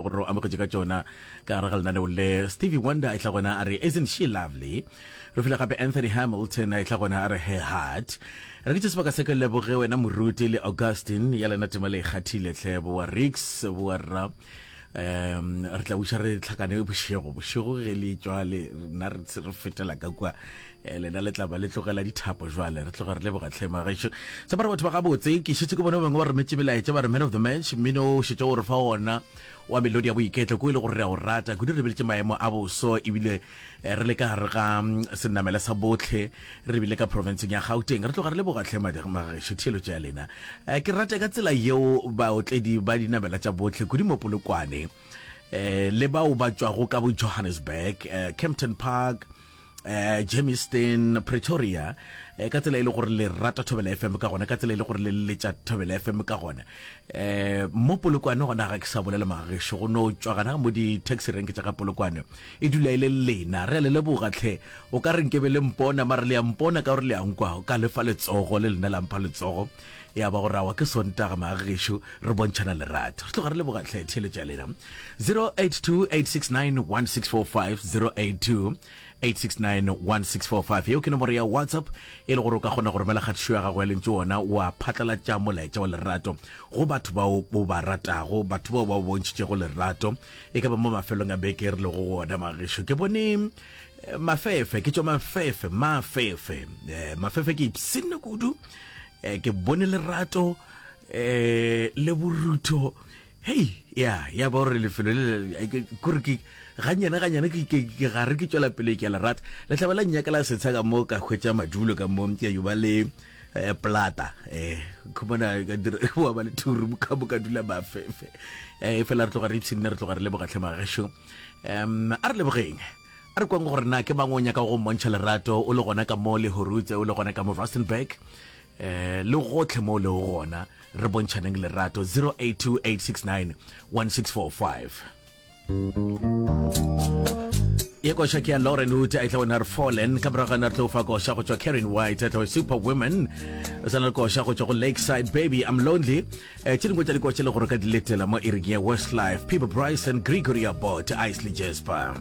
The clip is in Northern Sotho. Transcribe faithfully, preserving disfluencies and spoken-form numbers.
gore o amogetše ka tšona ka gare ga lenaneo le. Stevie Wonder a etla gona a re isn't she lovely. Re file gape Anthony Hamilton a etla gona a re her heart. Re ke tše sebaka se ke leboge wena moruti le Augustine ya lena tema le ikgathile hle boa Rix boa rra. Um re tla buša re tlhakane bošego bošego ge le tšwa le nna re re fetela ka kua, eh, lena le tla ba le tlogela dithapo jwale re tloga re leboga tlhe magešo. Sa bare batho ba gabotse ke šetše ke bone bangwe ba rometše melaetša ba re man of the match mmino o šetše o re fa ona wa melodi ya boiketlo ko e le gore re a o rata kudu re lebeletše maemo a boso ebile eh, re le ka gare ga mm, senamela sa botlhe re bile ka provinceng ya Gauteng. Re tloga re leboga tlhe magešo theeletšo ya lena. Eh, ke rata ka tsela yeo baotledi ba dinamela tša botlhe kudu mo Polokwane eh, le bao ba tšwago ka bo Johannesburg, eh, Kempton Park, eh, Germiston, Pretoria, eh, ka tsela e le gore le rata Thobela F M ka gona, ka tsela e le gore le letša Thobela F M ka gona. Eh, mo Polokwane gona ga ke sa bolela magešo go no tšwa gana mo di-taxi rank tša ga Polokwane e dula e le lena. Re a le leboga tlhe, o ka re nkebe le mpona mare le a mpona ka gore le a nkwa, o ka lefa letsogo le lena la mpha letsogo ya ba gore awa ke Sontaga magešo re bontšhana lerato. Re tloga re leboga tlhe theeletšo ya lena. Zero eight two eight six nine one six four five, zero eight two eight six nine one six four five. Yeo ke nomoro ya WhatsApp e le gore o ka kgona go romela kgatišo ya gago ya lentšu ona wa phatlalatša molaetša wa lerato go batho bao o ba ratago, batho bao ba o bontšhitšego lerato e ka ba mo mafelong a beke re lego go ona magešo. Ke bone eh, mafefe, ke tšwa mafefe, mafefe, eh, mafefe ke ipshinne kudu, eh, ke bone lerato eh, le borutho. Hei, ya ya ba gore lefelo le kore ke ganyane ganyane ke ke ke gare ke tšwela pele ke a le rata. Le tla ba la nnyaka la setsha ka mo ka hwetša madulo ka mo ke yo ba le eh, plata eh khumana ka dira wa ba le two room ka mo ka dula mafefe. Eh fela re tloga re ipshinne, re tloga re leboga tlhe magešo. Um a re lebogeng, a re kwang gore na ke mang o nyaka go mmontšha lerato o le gona ka mo le Horutse, o le gona ka mo Rustenburg, eh le gotlhe mo le gona re bontšhaneng lerato. Zero eight two eight six nine one six four five. Ye koša ke ya Lauren Hood a etla wena re Fallen, ka morago ga yona re tlo fa koša go tšwa Karen White a tla Super Women, o sa na le koša go tšwa go Lakeside Baby I'm Lonely. Eh, tše dingwe tša dikoša le gore ka di letela mo iring ya Westlife, Peter Bryson, Gregory Abbott, Isley Jasper.